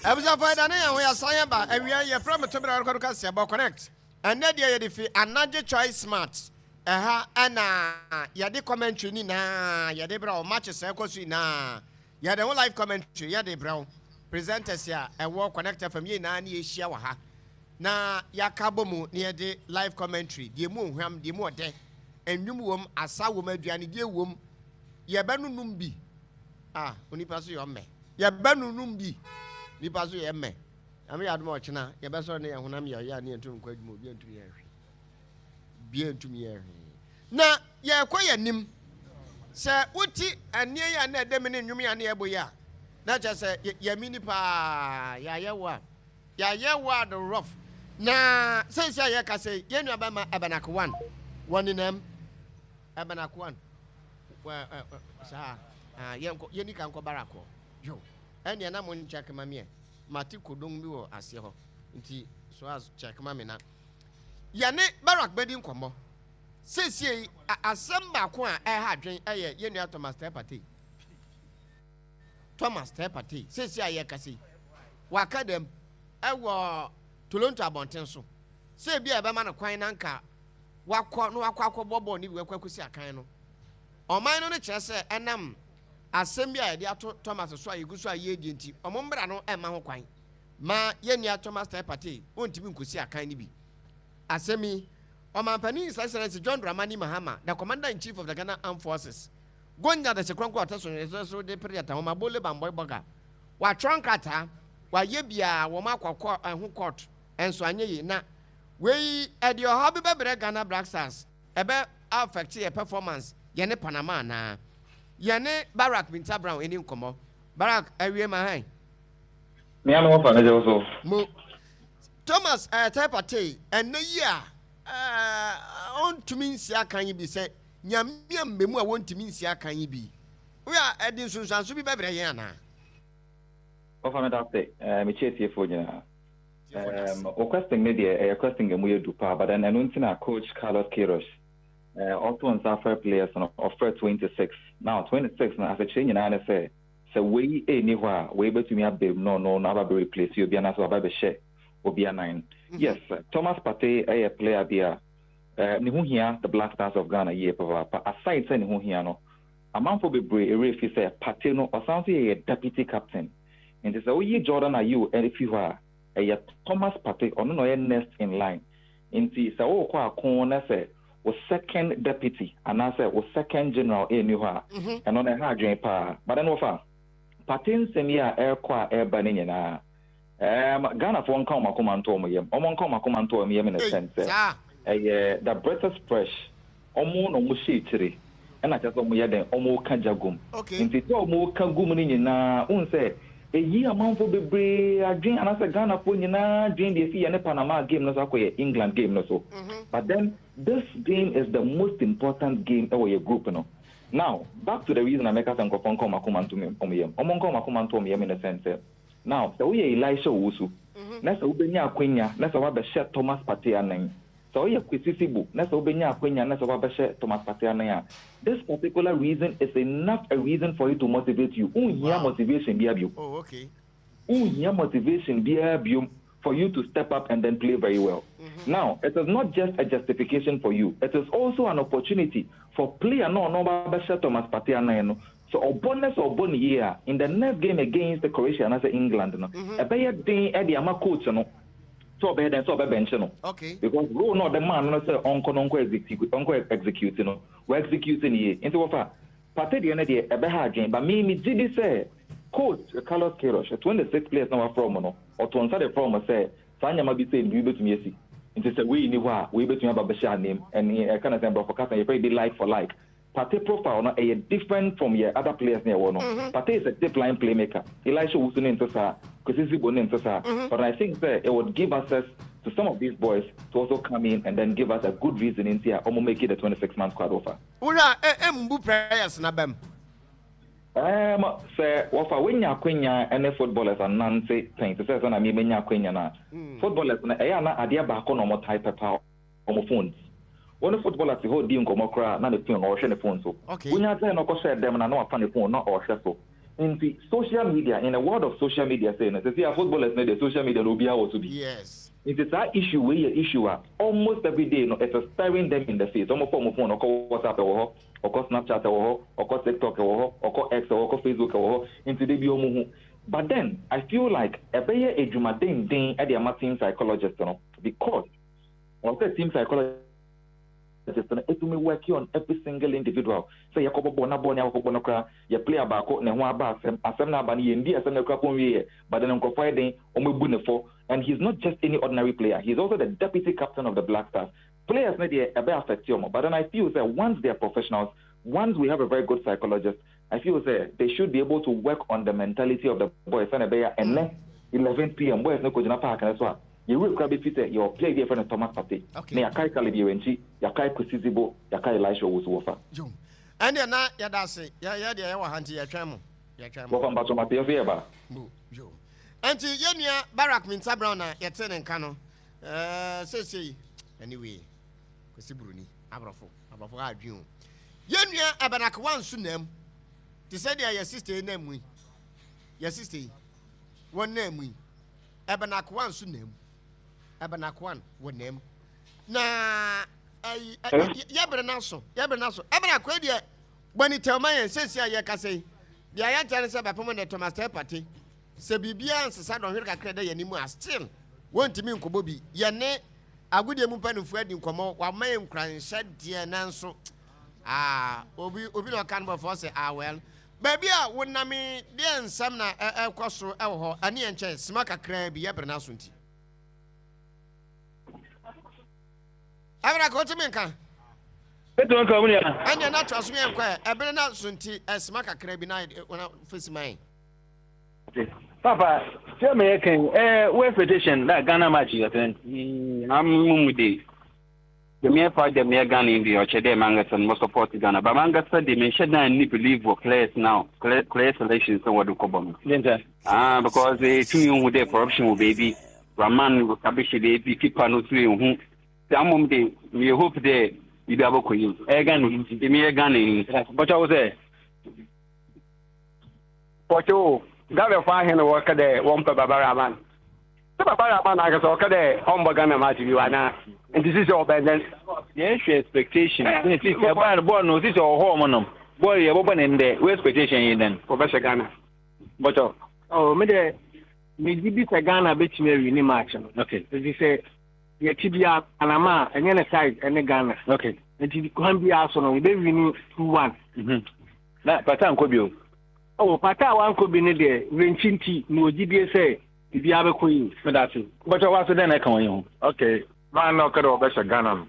Abusuafo, ɛda ne yɛn ho yɛasan yɛn ba awia yi. Yɛfrɛ me Tobere Arekɔdo Kaseɛbɔ Connect. Ɛnnɛ deɛ yɛde fi Anagye Choice Smart. Ɛha ɛna yɛde commentary nyinaa yɛde brɛ wo. Matches a ɛkɔ so nyinaa yɛde ho live commentary yɛde brɛ wo. Presenters a ɛwɔ Connect FM yɛn nyinaa ne yɛhyia wɔ ha na yɛaka bɔ mu na yɛde live commentary, deɛ mu ohwam, deɛ mu ɔdɛ, nnwom wom, asa wom, aduanedie wom, yɛbɛnonom bi. Ah, onipa so yɛ ɔmmɛ. Yɛbɛnonom bi. Nipa so yɛ mmɛ. Nyame yɛ adom a ɔkyena yɛbɛsɔre ne yɛn honam yɛ ɔyɛ a ne yɛntumi nkɔ adwuma, obi antumi yɛ hwee. Obi antumi yɛ hwee. Na yɛkɔ yɛn anim. Sɛ wote ɛnneɛ yi a na ɛda mu ne nnwom yi a na yɛbɔ yi a, na kyerɛ sɛ yɛamini paa, yɛayɛ wo a. Yɛayɛ wo ado rough. Na seesei a yɛka sɛ yɛn nua bɛma Ɛbɛnak one wɔ nenam. Ɛbɛnak one. Saa yɛnkɔ yɛni ka nkɔ barak hɔ. Yo, ɛnneɛ na mo nkyɛk ma meɛ. Mate kodong bi wɔ aseɛ hɔ. Nti so as kyɛk ma me na yɛne Barak bɛdi nkɔmmɔ. Seesei asɛm baako a ɛha adwen ɛyɛ yɛn nua Thomas Teh Partey. Thomas Teh Partey, seesei a yɛrekasa yi, waka dɛm wɔ Toronto abɔnten so sɛ ebia yɛbɛma no kwan na anka wakɔ na wakɔ akɔbɔ bɔɔl no bi wakɔ akɔsi akan no. Ɔman no no kyerɛ sɛ ɛnam asɛm bi a yɛde ato Thomas so a yɛgu so a yɛredie nti, wɔn mmara no mma ho kwan ma yɛn nua Thomas Teh Partey ɔntumi nkɔsi akan no bi. Asɛm yi, Ɔmanpanin His Excellency John Dramani Mahama, the Commander-in-Chief of the Ghana Armed Forces, Gonya de se kronkron a ɔte so nhwɛso so de pere yɛta nwoma bole bambɔe bɔga. Watwerɛ nkrataa, wayɛ biaa, wɔn akɔ kɔ ɛho court nso anyɛ yie. Na wei ɛde ɔhaw bi bɛbrɛ Ghana Black Stars? Ɛbɛ affect yɛ performance yɛne Panama anaa? Yɛne Barak Mintah Brown ɛni nkɔmmɔ. Barak awie ma han. Me ano wɔfa mɛgye wo so. Mo. Thomas Ɛɛtɛɛ Partey ɛnnɛ yi a ɔntumi nsi akan yi bi sɛ Nyame amma mu a wɔntumi nsi akan yi bi. Woyɛ a, ɛde nsunsuanso bi bɛbrɛ yɛn anaa? Wɔfa meda ase. Eh, mekyia atiefoɔ nyinaa. Um, wo question ne deɛ ɛyɛ question a ɛmu yɛ du paa, but then ɛno nti na coach Carlos Queiroz eh, ɔto nsa afrɛ players no, ɔfrɛ 26. Now 26 no asekyerɛ nyinaa ne sɛ, sɛ wei ɛnni hɔ a, wei bɛtumi aba mu na ɔno no aba bɛ replace obi anaasɛ waba bɛhyɛ obi anan. Yes, Thomas Partey ɛyɛ player bi a Eh, ne ho hia the Black Stars of Ghana yie papaapa. Aside sɛ ne ho hia no, amanfoɔ bebree werɛ fi sɛ Partey no, ɔsan nso yɛ yɛ deputy captain. Nti sɛ woyi Jordan Ayew fi hɔ a, ɛyɛ Thomas Partey, ɔno na ɔyɛ next in line. Nti sɛ worekɔ ako na sɛ wo second deputy anaasɛ wo second general nni hɔ a, ɛno no ɛha adwene paa. But then wɔfa Partey nsɛm yi a ɛrekɔ a ɛreba no nyinaa, Erm Ghanafoɔ nka wɔn akoma nto wɔn yam, wɔn nka wɔn akoma nto wɔn yam in a Ei, sense sɛ saa. ɛyɛ the British fresh, wɔn na wɔn hyɛ akyire ɛna kyerɛ sɛ wɔn yɛ dɛn, wɔn reka gya gum. Okay. Nti sɛ wɔn reka gum no nyinaa, wohu sɛ ɛyi amanfoɔ bebree adwene anaasɛ Ghanafoɔ nyinaa adwene deɛ ɛfi yɛne Panama game no so akɔ yɛ England game no so. But then this game is the most important game ɛwɔ yɛ group no. Now back to the reason a mɛka sɛ nkurɔfoɔ nka wɔn akoma nto wɔn yam, wɔn nka wɔn akoma nto wɔn yam in a sense sɛ, Now, sɛ woyɛ Elisha Owusu, na sɛ wobɛnya akwanya na sɛ woabɛhyɛ Thomas Partey anan, sɛ woyɛ Kwesi Sibo na sɛ wobɛnya akwanya na sɛ woabɛhyɛ Thomas Partey anan a, this particular reason is enough a reason for it to motivate you. Wonhia motivation biara bio. Oh, okay. Wonhia motivation biara biom for you to step up and then play very well. Now, it is not just a justification for you, it is also an opportunity for player no a ɔno ɔba abɛhyɛ Thomas Partey anan no. Sɛ ɔbɔ na sɛ ɔbɔ no yie a, in the next game against Croatia anaasɛ England no, ɛbɛyɛ den de ama coach no sɛ ɔbɛyɛ dɛn, sɛ ɔbɛbɛnkye no. Because role no a ɔde maa no no sɛ ɔnkɔ no ɔnkɔ execute, ɔnkɔ execute no, wa execute no yie. Nti wɔfa Partey deɛ no deɛ ɛbɛha adwene, but me megye di sɛ coach Carlos Queiroz, 26 players na wafrɛ wɔn no, ɔtoo nsa de frɛɛ wɔn sɛ saa nneɛma bi sei no biribi bɛtumi asi. Nti sɛ wei nni hɔ a, wei bɛtumi aba abɛhyɛ anem. Ɛne ɛka no sɛn, borɔfo kasa yɛfrɛ bi like for like. Partey profile no ɛyɛ different from yɛ other players no yɛwɔ no. Partey is a deep line playmaker. Elisha Owusu ne nte saa, Kwesi Sibo ne nte saa. But I think sɛ it would give access to some of these boys to also come in and then give us a good reason nti a wɔn make the 26 man squad wɔfa. Wohwɛ a, ɛmbu prayers no aba mu? Erm sɛ wɔfa woanya akwanya ne footballers anante pɛn te sɛ sɛnea me manya akwanya no a, footballers no ɛyɛ a na adeɛ baako na wɔtae pɛ paa, wɔn phones. Wo ne footballer te hɔ redi nkɔmmɔ koraa a na ne phone ɔrehwɛ ne phone so. Okay. Wonya gyae no kɔhyɛɛ dɛm no a na wafa ne phone na ɔrehwɛ so. Nti social media, in a world of social media sei no, sɛsei a footballers no deɛ social media no obiara wɔ so bi. Yes. Nti saa issue wei yɛ issue a almost every day no it is staring them in the face. Wɔn fa wɔn phone ɔkɔ WhatsApp ɛwɔ hɔ, ɔkɔ Snapchat ɛwɔ hɔ, ɔkɔ TikTok ɛwɔ hɔ, ɔkɔ X ɛwɔ hɔ, ɔkɔ Facebook ɛwɔ hɔ. Nti da bi wɔn hu. But then I feel like ɛbɛyɛ adwuma denden de ama team psychologist no because ɔwɔ sɛ team psychologist no tumi work on every single individual sɛ yɛkɔbɔ bɔɔl na bɔɔl no yɛakɔbɔ no koraa yɛ player baako ne ho aba asɛm, asɛm no aba no yɛndi asɛm no koraa mpo nwieɛ but then nkurɔfoɔ ayɛ den wɔabu ne fɔ and he's not just any ordinary player, he's also the deputy captain of the Black Stars. Players no deɛ ɛbɛ affect wɔn but then I feel sɛ once they are professionals, once we have a very good psychologist, I feel sɛ they should be able to work on the mentality of the boys sɛnea ɛbɛyɛ a ɛnnɛ 11 pm boys no kɔgyina park no so a yɛn werɛ koraa bɛfi sɛ yɛwɔ player bi a yɛfrɛ no Thomas Partey na yɛakae Caleb Yirenkyi, yɛakae Kwesi Zibo, yɛakae Elisha Owusu Wɔfa. Yo, ɛndeɛ na yɛda ase. Yɛ yɛ deɛ yɛwɔ ha nti yɛtwɛn mo. Yɛtwɛn mo. Wɔfa mpakyɛw mate yɛnso yɛba. Mo, yo. Ɛnti yɛn nua Barak Mintah Brown na yɛtee ne nka no. Ɛɛ seesei anyway, Kwesi Buroni, aborɔfo. Aborɔfo ha adwene o. Yɛn nua Abanakewa nso nam te sɛ deɛ yɛ sista yi nam mu yi. Yɛ sista yi, wɔn nam mu yi. Abanakewa nso nam. Abanakewa wɔ nam. Na ɛyi yɛbere n'aso, yɛbere n'aso. Abanakewa deɛ bɔne tɛw ma yɛn sɛsi a yɛkasa yi. Deɛ yɛnkyɛ ne sɛ bɛpem ne Thomas Teh Partey. Sɛ biribiara nsesa dɔnhwere kakra da yɛn anim a, still wɔntumi nkɔbɔ bi. Yɛne Agodie mu mpanimfoɔ adi nkɔmmɔ, wɔama yɛn nkuranhyɛ deɛ nanso ah, obi obi na ɔka no bɔfɔ sɛ ah well. Baabi a wonam yi, deɛ nsɛm na ɛkɔ so wɔ hɔ, ɛne yɛn nkyɛn sima kakraa bi, yɛbrɛ no aso nti. Ɛbrɛ ka wotumi nka. Wotumi nka wɔn nua. Ɛnneɛ na toa so yɛn kɔ ɛ, ɛbere no aso nti ɛsima kakraa bi na fesi man. Papa, sɛ meyɛ kan eh, wo expectation na Ghana match yɛ fɛn. Mm, mu mu de. Dɛm yɛ fa dɛm yɛ Ghana yi deɛ ɔkyɛ dɛ mankasa no mo support Ghana. Ba mankasa de menhyɛ dan ni believe wɔ players now, player selection sɛ wɔde kɔbɔ no. Denta. Ah, because etumi eh, hu dɛ corruption wɔ baabi. Rahman kabehye baabi, keeper no so ehu. Saa mmom de, meyɛ hope dɛ biribi abɔkɔ yie. Ɛyɛ Ghana yi nti. Meyɛ Ghana yi. Bɔtɔ wo sɛ. Wɔtse o, Ghanafoɔ ahe na wɔka dɛ wɔmmpɛ Baba Rahman? Sɛ Baba Rahman ankasa ɔka dɛ ɔmmbɔ Ghana match bio anaa? Ntsi sisi ɔbɛn dɛn? Yɛhwɛ expectation. Sisi ɛbaa no bɔɔl no sisi ɔwɔ hɔ ɔmo nom. Bɔɔl yɛ bɔbɔ ne ndɛ. Wo expectation yi dɛn? Wɔbɛhyɛ Ghana. Bɔtɔ. Oh, me dɛ megye di sɛ Ghana bɛtumi awi ne match no. Okay. Ɛfiri sɛ yɛte biara Panama a ɛnyɛ ne size ɛne Ghana. Okay. Nti kwan biara so no yɛbɛwi ne 2-1. Na Pata nkɔ bio. Oh, Pata a wankɔ bi no deɛ, werɛnkyi nti, mewɔ gyidie sɛ biribiara bɛkɔ yie. Meda ase. Mpakyɛw w'aso dɛn na ɛka wɔ yi ho? Okay, man na ɔka dɛ ɔbɛhyɛ Ghana no.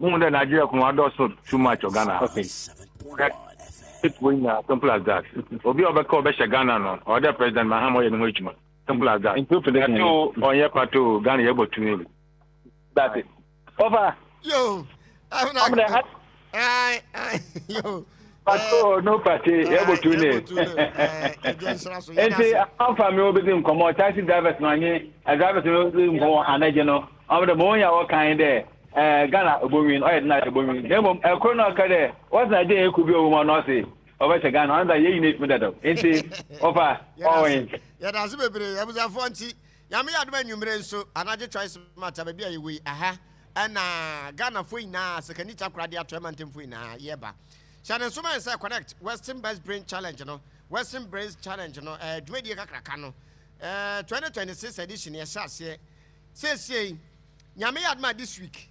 Muhu dɛ Nigeria ko adɔɔso too much wɔ Ghana ha. Okay. Wɔ nyinaa, simple as that. Obi a ɔbɛka ɔbɛhyɛ Ghana no, ɔwɔ dɛ President Mahama ɔyɛ ne ho adwuma. Simple as that. Nti wo prediction Pate o, ɔnyɛ pate o, Ghana yɛbɔ 2-0. That's it. Ɔfa. Yo. Ɔmdɛ. Ai ai yo. Pato no pate yɛbɔ tu ne. Nti amfa mi obi di nkɔmɔ taxi drivers no anyi drivers no di nkɔmɔ anagye no. Ɔmdɛ mo nya wɔ kan dɛ eh Ghana obowin ɔyɛ dena obowin. Na mmom ɛkoro na ɔka dɛ wɔsena agye eku bi owu mu ɔno ɔse ɔbɛhyɛ Ghana ɔno da yɛ nyina efimi dadaw. Nti ɔfa ɔwin. Yɛda ase bebree abusuafoɔ nti Nyame yɛ adom anwummere nso anadwo Choice Mart a baabi a yɛwɔ yi ɛha ɛna Ghanafoɔ nyinaa Sekani Takoradi Atɔeɛ mantamfoɔ nyinaa yɛba. Hyɛ ne nso ma yɛn sɛ Connect Western Best Brain Challenge no Western Brains Challenge no ɛɛ dwumadie kakraka no ɛɛ 2026 edition yɛhyɛ aseɛ seesei Nyame yɛ adom a this week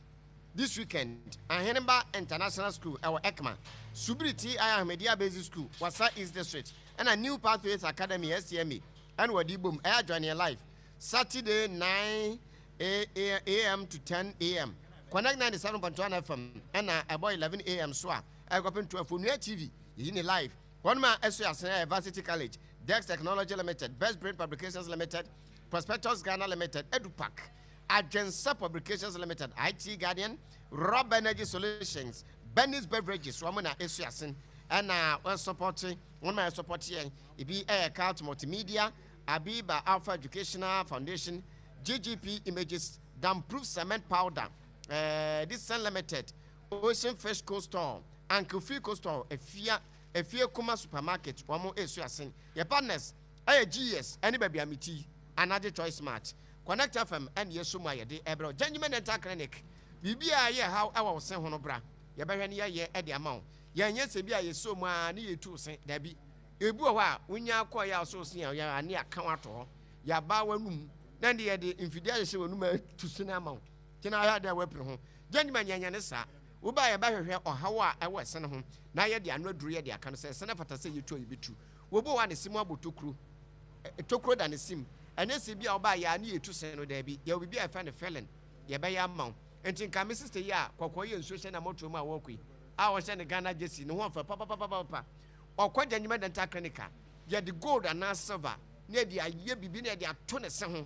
this weekend Aheneba International School ɛwɔ Ekma Subiri TI Ahmadiyya Basic School Wassa East District ɛna New Pathways Academy STMA ɛna wɔde bom ɛyɛ join yɛn live Saturday 9 am to 10 am Connect 97.1 FM ɛna ɛbɔ 11 am so a ɛkɔpem 12 Onua TV yɛyi ne live wɔn a ɛso yɛ asen ɛyɛ Varsity College Dex Technology Limited Best Brain Publications Limited Prospectus Ghana Limited Edupac Adwensa Publications Limited IT Guardian Rob Energy Solutions Benny's Beverages wɔn na ɛso asen ɛna wɔn support wɔn a ɛsupport yɛn Ebi yɛ Cult Multimedia, Abiba Alpha Educational Foundation, GGP Images, Damproof Cement Powder, eh, Dixon Limited, Ocean Fish Coastal, Uncle Free Coastal, Afia Efie Kuma Supermarket wɔn resu asen. Yɛ partners ɛyɛ GES ɛne baabi a meti yi, Anagye Choice Smart. Connect FM ɛne yɛsɔ mu a yɛde ɛbrɛ wo. Gyangyima Dental Clinic, biribi a ɛyɛ haw ɛwɔ wo se ho no bra, yɛbɛhwɛ ne yɛayɛ ɛde ama wo. Yɛnyɛ sɛ bi a yɛsɔ mu ara ne yɛtu wo se, dabi. Ebi wɔ hɔ a, wonya kɔeɛ a wo sɛ wo se yɛ a ne yɛaka wo ato hɔ. Yɛaba w'anum na ɛnde yɛde mfidie ahyehyɛ w'anum atu se no ama wo. Nti na ayɛ adeɛ a woapiri ho. Gyangyima nyɛnyɛ ne saa. Woba a yɛbɛhwehwɛ ɔhaw a ɛwɔ ɛse no ho na yɛde ano aduru yɛde aka no sɛ ɛse no fata sɛ yɛtu a yɛbɛtu. Wobu hɔ a ne se mu abɔ tokuro. Tokuro da ne se mu. Ɛnyɛ sɛ bi a woba yɛ a ne yɛtu se no daabi. Yɛwɔ biribi a yɛfrɛ no filling yɛbɛyɛ ama wo. Nti nka me sister yi a kɔkɔɔ yɛ nsuo hyɛ n'amɔtoa mu a wɔrekɔ yi a ɔhyɛ ne Ghana jersey ne ho ɔfɛ papapapapa. Ɔkɔ Gyangyima Dental Clinic a yɛde gold anaa silver na yɛde ayɛ biribi na yɛde ato ne se ho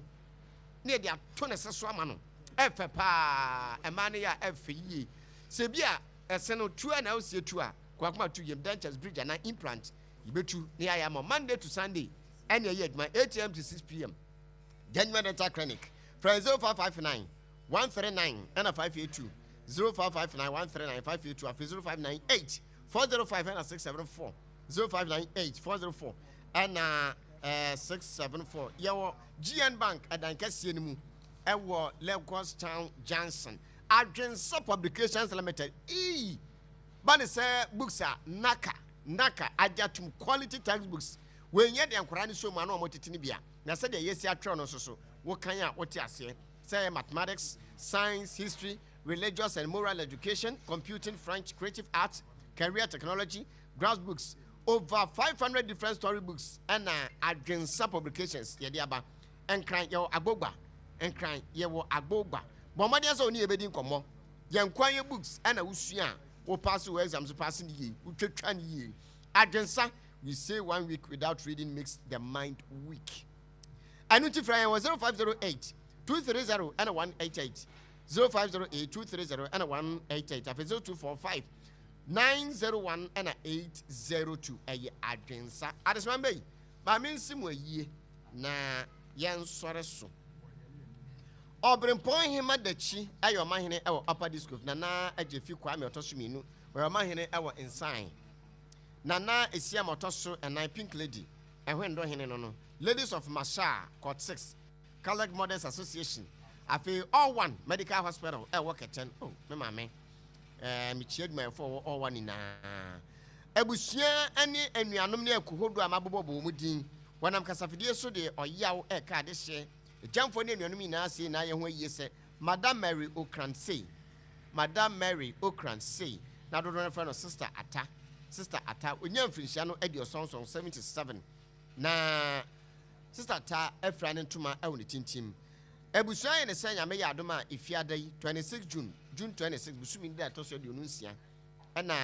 na yɛde ato ne se so ama no. Ɛfɛ paa, mmaa no yɛ a ɛfɛ yie. Sɛ bi a ɛse no tu a na wosie tu a, kwakoma tu yam, dentures, bridge anaa implant yɛbɛtu na yɛayɛ ama Monday to Sunday ɛne ɛyɛ adwuma 8am to 6pm. Genuine Dental Clinic, frɛ 0559 139 ɛna 582, 0559 139 582, afei 0598 405 ɛna 674, 0598 404 ɛna 674. Yɛwɔ GN Bank ɛdan kɛseɛ no mu ɛwɔ Lagos Town Junction. Adwensa Publications Limited ii ba ne sɛ books a naka naka agye atom quality textbooks. Wei nyɛ deɛ nkwadaa no sɔ mu ano a wɔtete no bia, na sɛdeɛ yɛasi atwerɛ no nso so wokan a wote aseɛ sɛ ɛyɛ mathematics, science, history, religious and moral education, computing, French, creative arts, career technology, grass books, over 500 different story books ɛna Adwensa Publications yɛde aba. Nkran yɛwɔ Agbogba. Nkran yɛwɔ Agbogba. Bɔ mmɔden sɛ wo ne yɛbɛdi nkɔmmɔ. Yɛn nkoa yɛ books ɛna wosua a wo paase wo exams paase no yie, wotwatwa no yie. Adwensa, we say one week without reading makes the mind weak. Ɛno nti frɛ yɛn wɔ 0508 230 ɛna 188, 0508 230 ɛna 188, afei 0245 901 ɛna 802. Ɛyɛ Adwensa. Adesoma mbɛ yi, maame nsi mu ayie na yɛnsɔre so. Ɔberempɔn Hema Dakyi yɛ ɔmahene wɔ Upper District. Nana Agyefi Kwame ɔtɔ so mmienu, ɔyɛ ɔmahene wɔ Nsan. Nana Esiam ɔtɔ so ɛnan, Pink Lady, Ɛhwendo hene no no, Ladies of Mashar, Court 6, Catholic Mothers Association, afei All One Medical Hospital ɛwɔ Kɛtɛn. Oh, me maame. Eh, mekyia adwumayɛfoɔ wɔ All One nyinaa. Abusua ne anuanom ne akuhodoɔ a mabobɔbɔ wɔn din. Wɔnam kasafidie so de ɔyaw reka adehyeɛ. Agyamfoɔ ne anuanom nyinaa sei na ayɛ ho ayie sɛ Mada Mary Okran sei, Mada Mary Okran sei, na dodoɔ no frɛ no Sister Atta, Sister Atta. Ɔnyaa mfirinhyia no aduɔsɔnsɔn, 77, na Sister Atta afira ne ntoma wɔ ne tintim. Abusua yɛ ne sɛ Nyame yɛ adom a Efiada yi, 26 June, June 26, bosome da ɛtɔ so 26, ɛna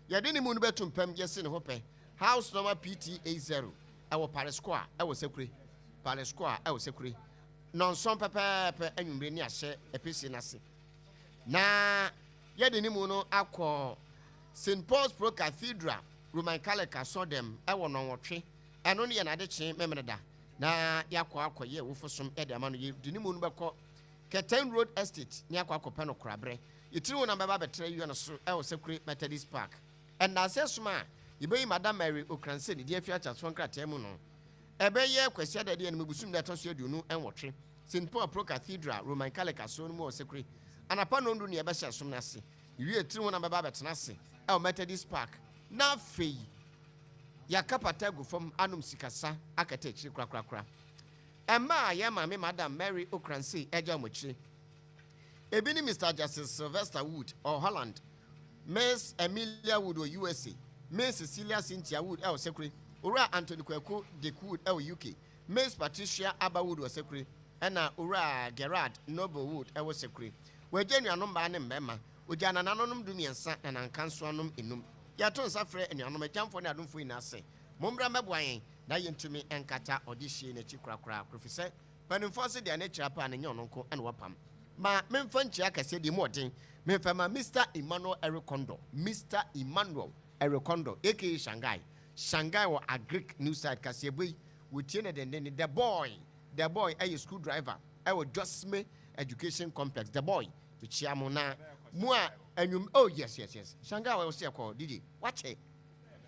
yɛde ne mu no bɛto mpam yɛsi ne ho pɛ. House number PT 80 ɛwɔ Paris Square ɛwɔ Sekure, Paris Square ɛwɔ Sekure. Nɔnson pɛpɛɛpɛ anwummere ne ahyɛ ɛpɛsie no ase. Na yɛde ne mu no akɔ St. Paul's Pro Cathedral Roman Catholic asɔdɛm ɛwɔ nɔnwɔtwe. Ɛno ne yɛn adekyee Memeneda. Na yɛakɔ akɔyɛ awufo som ɛde ama no. Yɛde ne mu no bɛkɔ Kɛtɛn Road Estate ne akɔ akɔpɛ no korabrɛ. Yɛtiri ho nam bɛba abɛtena yua no so ɛwɔ Sekure Methodist Park. Nnansa sum a yebeyi Madam Mary Okranseh ne din afi akyerɛwtoɔ nkrataa mu no, ɛbɛyɛ Kwasiada a ɛdi anim bosom da a ɛtɔ so 28, St. Paul Pro Cathedral, Roman Catholic Asɔre no mu wɔ Sekure. Anapa nnɔndu na yɛbɛhyɛ som no ase. Yewie tiri ho na bɛba abɛtena ase wɔ Methodist Park, na afei yɛaka pata agu fam anom sikasa akata akyiri korakorakora. Mma a yɛn maame Madam Mary Okranseh agya wɔn akyire. Ebi ne Mister Justice Sylvester Wood ɔwɔ Holland, Miss Amelia Wood wɔ USA, Miss Cecilia Cynthia Wood wɔ Sekure, Owura Anthony Kwaku Dick Wood wɔ UK, Miss Patricia Abba Wood wɔ Sekure, ɛna Owura Gerard Noble Wood wɔ Sekure. Wagya anuanom mmaa ne mmarima. Ogyaa nananonom dumiɛnsa na nankansoanom nnum. Yɛto nsa frɛ anuanom, agyamfoɔ ne adomfoɔ nyinaa sɛ, mommra mmɛboa yɛn na yɛntumi nkata ɔdehyeɛ no akyi korakora, efisɛ Mpanimfoɔ se deɛ ne kyerɛ paa no nyɛ ɔno nko na wapam. Ma memfa nkyia kɛseɛ deɛ mu ɔden memfa ma Mister Emmanuel Eric Kondor, Mister Emmanuel Eric Kondor aka Shanghai, Shanghai wɔ Agric New Site kaseɛbɔ yi wɔtie no dendenden. The Boy, The Boy ɛyɛ school driver ɛwɔ Josme Education Complex. The Boy, mekyia mo na mo a anwum, oh yes yes yes, Shanghai wɔ sɛ yɛkɔ DJ, wakyɛ.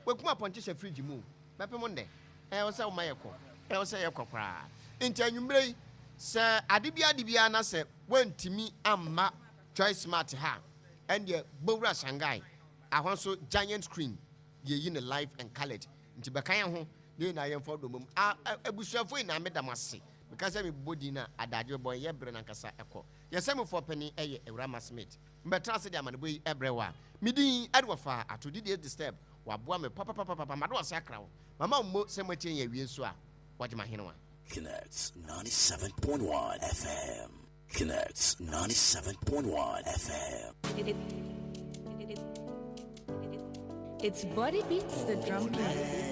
Wakum apɔnkye hyɛ fridge mu o. Bɛpem ndɛ. Ɛwɔ sɛ woma yɛkɔ. Ɛwɔ sɛ yɛkɔ koraa. Nti anwummerɛ yi, sɛ ade biara de biara na sɛ woantumi amma Choice Smart ha a, ɛndeɛ bɔwura Shanghai. Ahɔ nso giant screen, yɛyi no live and coloured. Nti bɛka yɛn ho na yɛn nyinaa yɛmfa ɔdɔ mmom. A, a, abusuafoɔ nyinaa meda mo ase. Meka sɛ mebobɔ din no a, adagyew bɔ yɛ berɛ no ankasa kɔ. Yɛn sɛmufoɔ panin yɛ Awurama Smith. Mebɛtena ase de amanebɔ yi brɛ wo a, me din de wɔfaa ato Didier Disturb. Waboa me papapapapa. Mado ase akra wo. Mama wo mmo sɛ moatie yɛn awie nso a, wɔagye m'ahenewa. Connect 97.1 FM. Connect 97.1 FM. It's Body Beats the Drum King.